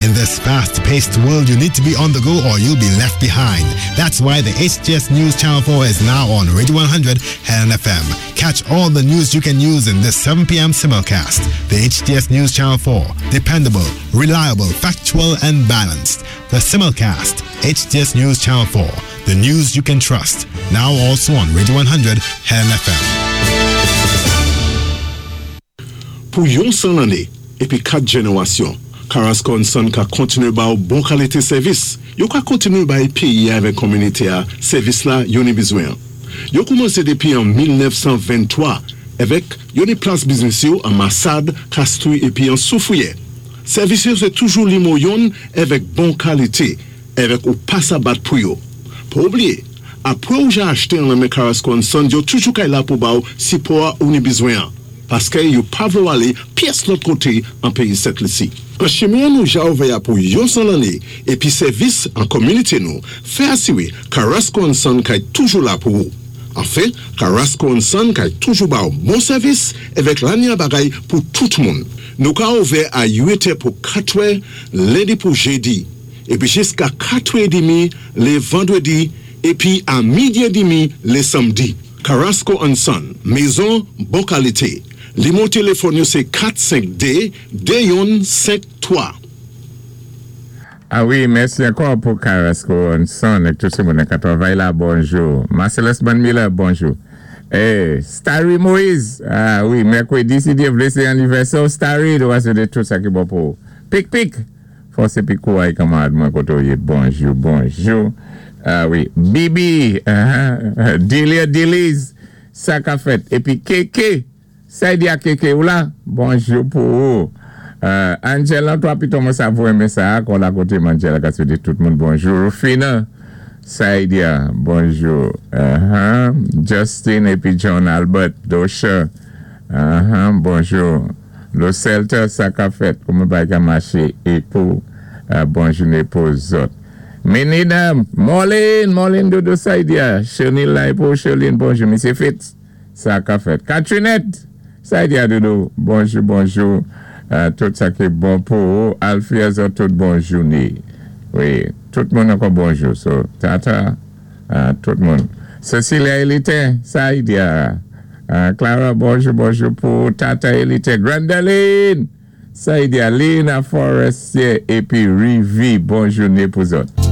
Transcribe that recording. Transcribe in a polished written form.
In this fast-paced world, you need to be on the go or you'll be left behind. That's why the HTS News Channel 4 is now on Radio 100 Helen FM. Catch all the news you can use in this 7 p.m. simulcast. The HTS News Channel 4. Dependable, reliable, factual, and balanced. The simulcast. HTS News Channel 4. The news you can trust. Now also on Radio 100 Helen FM. Pou yon 100 lanné épi 4 jénéwasyon, Carrasco and Son ka kontiné ba-w bon kalité sèvis. Yo ka kontiné bay péyi-a avèk kominité-a sèvis la yo ni bizwen-an. Yo koumansé dépi an 1923 èvèk yo ni plas biznis yo an Masad, Kastri épi an Soufriyè. Sèvis yo sé toujou limo yonn èvèk bon kalité èvèk ou pa sa bat pou yo. Pa oubliyé, apwé ou ja achte an lan men Carrasco and Son yo toujou kay la pou ba-w sipò-a ou ni bizwen-an. Paskè yo pa vlé w alé pyès lòt koté an péyi Sent Lisi. An chimen an nou ja ouvè a pou yon 100 lanné épi sèvis an kominité nou fè asiré Carrasco and Son kay toujou la pou ou. Anfen, Carrasco and Son kay toujou ba w bon sèvis èvèk lanya bagay pou tout moun. Nou ka ouvè a 8 è pou 4 è lendi pou jedi épi jiska 4 è demi lé vandrédi épi a midi è demi lé sanmdi. Carrasco and Son, mezon bon kalité. Limo téléfòn yo sé 4 5 2 2 yonn 5 3. A wi, mèsi ankò pou Carrasco and Son ak tout moun ka twavay la, bonjou. Marcellus Miller, bonjou. Eh, Starry Moïse, a wi, mèkwédi, si Dye vlé, sé annivèsè Starry, nou va swété tout sa ki bon pou. Pik pik, fòs épi kouway kanmarad mwen koté ou yé. Bonjou, bonjou. A wi, Bibi, uh Delia Deliz, sa ka fèt. Épi Keke, sa di a Keke ou la? Bonjou pou ou. Angela, twa pito mwen sa vou renmen sa, kon la koté Angela ka swété tout moun bonjou. Rufina, Saidia, bonjou. Justin épi John Albert, Dosha, bonjou. Lo Celta, sa ka fèt, kouman bagay ka maché é pou bon jouné pou zòt. Menina, Marlene, Marlene Dodo Saidia, Chenil la é pou Cheline, bonjou, Misye Fitz, sa ka fèt. Katrinette, Saidia Dodo, bonjou, bonjou, tout sa ki bon pou ou, Alfia zòt tout bon jouné. Wi, tout moun ankò bonjou. So, tata, tout moun. Cecilia Elite, Saidia, Clara, bonjou, bonjou pou Tata Elite, Grandaline, Saidia, Lina Forestier, épi Rivi, bon jouné pou zòt.